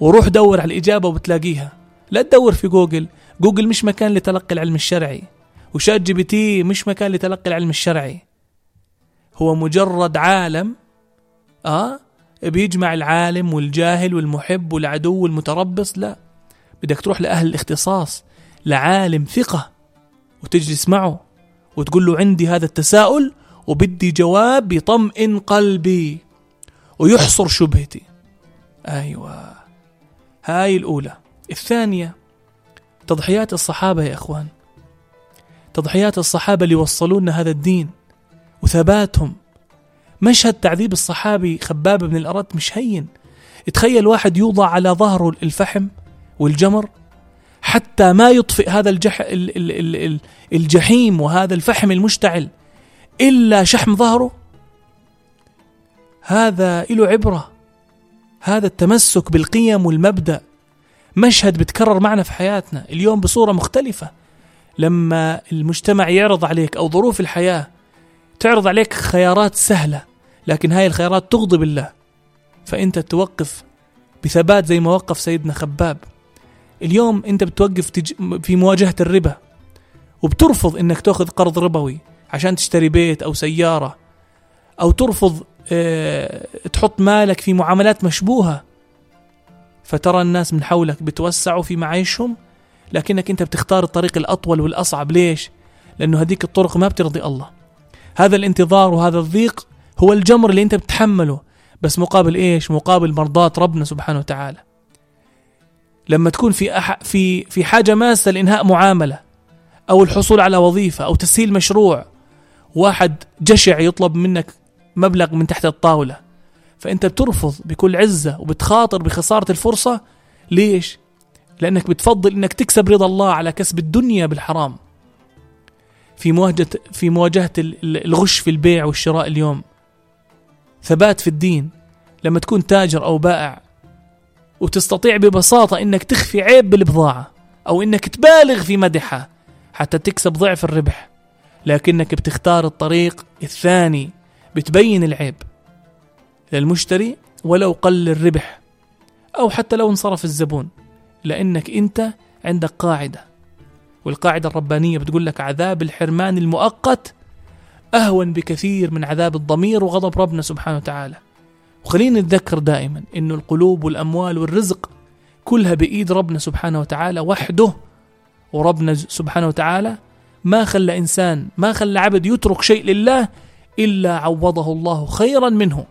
وروح دور على الإجابة وبتلاقيها. لا تدور في جوجل مش مكان لتلقي العلم الشرعي، وشات جي بي تي مش مكان لتلقي العلم الشرعي. هو مجرد عالم بيجمع العالم والجاهل والمحب والعدو والمتربص. لا، بدك تروح لأهل الاختصاص، لعالم ثقة، وتجلس معه وتقول له عندي هذا التساؤل وبدي جواب يطمئن قلبي ويحصر شبهتي. أيوة، هاي الأولى. الثانية تضحيات الصحابة يا إخوان، تضحيات الصحابة اللي وصلونا هذا الدين وثباتهم. مشهد تعذيب الصحابي خباب بن الأرت مش هين. تخيل واحد يوضع على ظهره الفحم والجمر حتى ما يطفئ هذا الجحيم وهذا الفحم المشتعل إلا شحم ظهره. هذا له عبرة، هذا التمسك بالقيم والمبدأ. مشهد بتكرر معنا في حياتنا اليوم بصورة مختلفة. لما المجتمع يعرض عليك أو ظروف الحياة تعرض عليك خيارات سهلة، لكن هاي الخيارات تغضب الله، فأنت توقف بثبات زي ما وقف سيدنا خباب. اليوم أنت بتوقف في مواجهة الربا، وبترفض أنك تأخذ قرض ربوي عشان تشتري بيت أو سيارة، أو ترفض تحط مالك في معاملات مشبوهة، فترى الناس من حولك بتوسعوا في معايشهم، لكنك أنت بتختار الطريق الأطول والأصعب. ليش؟ لأنه هذيك الطرق ما بترضي الله. هذا الانتظار وهذا الضيق هو الجمر اللي أنت بتحمله، بس مقابل إيش؟ مقابل مرضات ربنا سبحانه وتعالى. لما تكون في حاجة ماسة لإنهاء معاملة أو الحصول على وظيفة أو تسهيل مشروع، واحد جشع يطلب منك مبلغ من تحت الطاولة، فأنت بترفض بكل عزة وبتخاطر بخسارة الفرصة. ليش؟ لأنك بتفضل أنك تكسب رضا الله على كسب الدنيا بالحرام. في مواجهة الغش في البيع والشراء اليوم، ثبات في الدين. لما تكون تاجر أو بائع وتستطيع ببساطة أنك تخفي عيب بالبضاعة أو أنك تبالغ في مدحها حتى تكسب ضعف الربح، لكنك بتختار الطريق الثاني، بتبين العيب للمشتري ولو قل الربح أو حتى لو انصرف الزبون، لأنك أنت عندك قاعدة، والقاعدة الربانية بتقول لك عذاب الحرمان المؤقت أهون بكثير من عذاب الضمير وغضب ربنا سبحانه وتعالى. وخلينا نتذكر دائما إنه القلوب والأموال والرزق كلها بإيد ربنا سبحانه وتعالى وحده، وربنا سبحانه وتعالى ما خلى عبد يترك شيء لله إلا عوضه الله خيرا منه.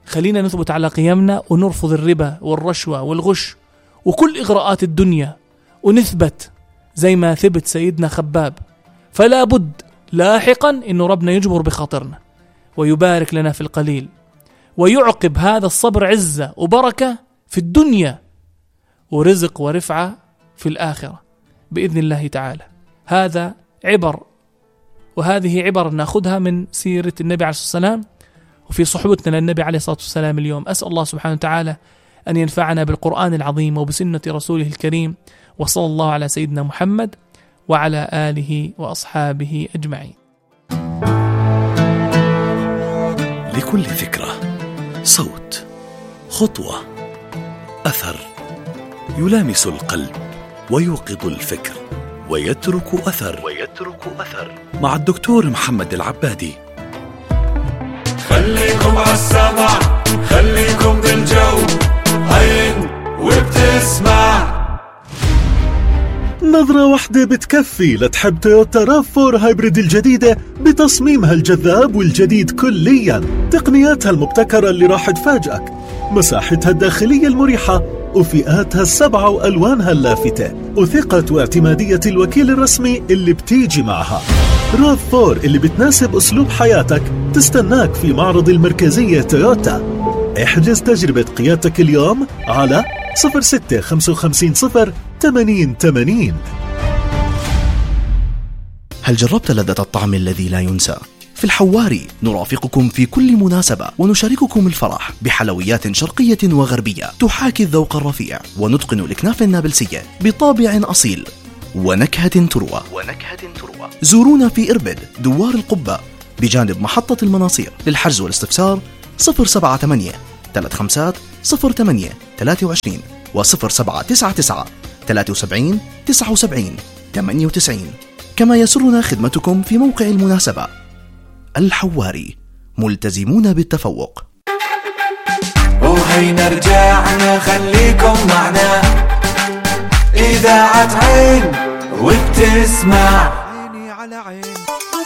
خلينا نثبت على قيمنا ونرفض الربا والرشوة والغش وكل إغراءات الدنيا، ونثبت زي ما ثبت سيدنا خباب. فلا بد لاحقا إنه ربنا يجبر بخاطرنا ويبارك لنا في القليل، ويعقب هذا الصبر عزة وبركة في الدنيا ورزق ورفعة في الآخرة بإذن الله تعالى. هذا عبر، وهذه عبر نأخذها من سيرة النبي عليه الصلاة والسلام وفي صحبتنا للنبي عليه الصلاة والسلام اليوم. أسأل الله سبحانه وتعالى أن ينفعنا بالقرآن العظيم وبسنة رسوله الكريم، وصلى الله على سيدنا محمد وعلى آله وأصحابه أجمعين. لكل فكرة صوت، خطوة، أثر يلامس القلب ويوقظ الفكر ويترك أثر مع الدكتور محمد العبادي. خليكم عالسمع، خليكم بالجو، عين وبتسمع. نظرة واحدة بتكفي لتحب تويوتا RAV4 هايبريد الجديدة بتصميمها الجذاب والجديد كليا، تقنياتها المبتكرة اللي راح تفاجئك، مساحتها الداخلية المريحة وفئاتها ال7 وألوانها اللافتة، وثقة واعتمادية الوكيل الرسمي اللي بتيجي معها. RAV4 اللي بتناسب أسلوب حياتك تستناك في معرض المركزية تويوتا. احجز تجربة قيادتك اليوم على 0655088080. هل جربت لذة الطعم الذي لا ينسى؟ في الحواري نرافقكم في كل مناسبة ونشارككم الفرح بحلويات شرقية وغربية تحاكي الذوق الرفيع، ونتقن الأكناف النابلسية بطابع أصيل ونكهة تروى. زورونا في إربد دوار القبة بجانب محطة المناصير. للحجز والاستفسار 078 350823 و0799 73 79 98. كما يسرنا خدمتكم في موقع المناسبة. الحواري، ملتزمون بالتفوق. وهينا رجعنا خليكم معنا، إذاعة عين وبتسمع عيني على عين.